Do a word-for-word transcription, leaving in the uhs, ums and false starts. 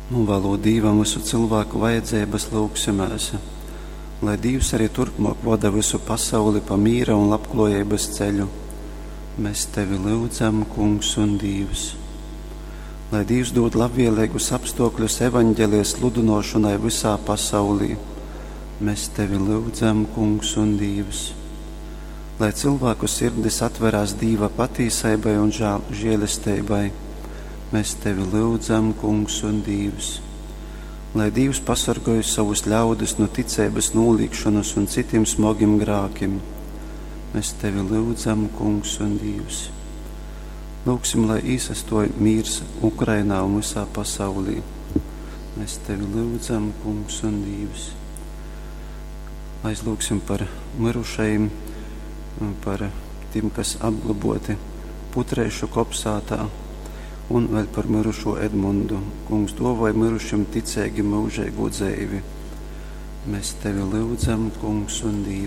Nūvēlot Dīvam visu cilvēku vajadzības, lūgsimēs, lai Dīvs arī turpmāk voda visu pasauli pa mīra un labklājības ceļu. Mēs tevi lūdzam, Kungs un Dīvs. Lai Dīvs dod labvēlīgus apstākļus evaņģēlijas sludinošanai visā pasaulī. Mēs tevi lūdzam, Kungs un Dīvs. Lai cilvēku sirdis atverās Dīva patīsībai un žēl, žēlestībai. Mēs tevi lūdzam, Kungs un Dīvs. Lai Dīvs pasargāj savus ļaudis no ticības noliegšanas un citiem smagiem grākiem. Mēs tevi lūdzam, Kungs un Dīvs. Lūgsim, lai īsastoj mīrs Ukrainā un visā pasaulī. Mēs tevi lūdzam, Kungs un Dīvs. Aizlūgsim par mirušajiem, par tiem, kas apglaboti Putrēšu kopsātā, un vēl par mirušo Edmundu. Kungs, dāvāj mirušiem ticīgi mūžīgu dzīvi. Mēs tevi lūdzam, Kungs un Dievs.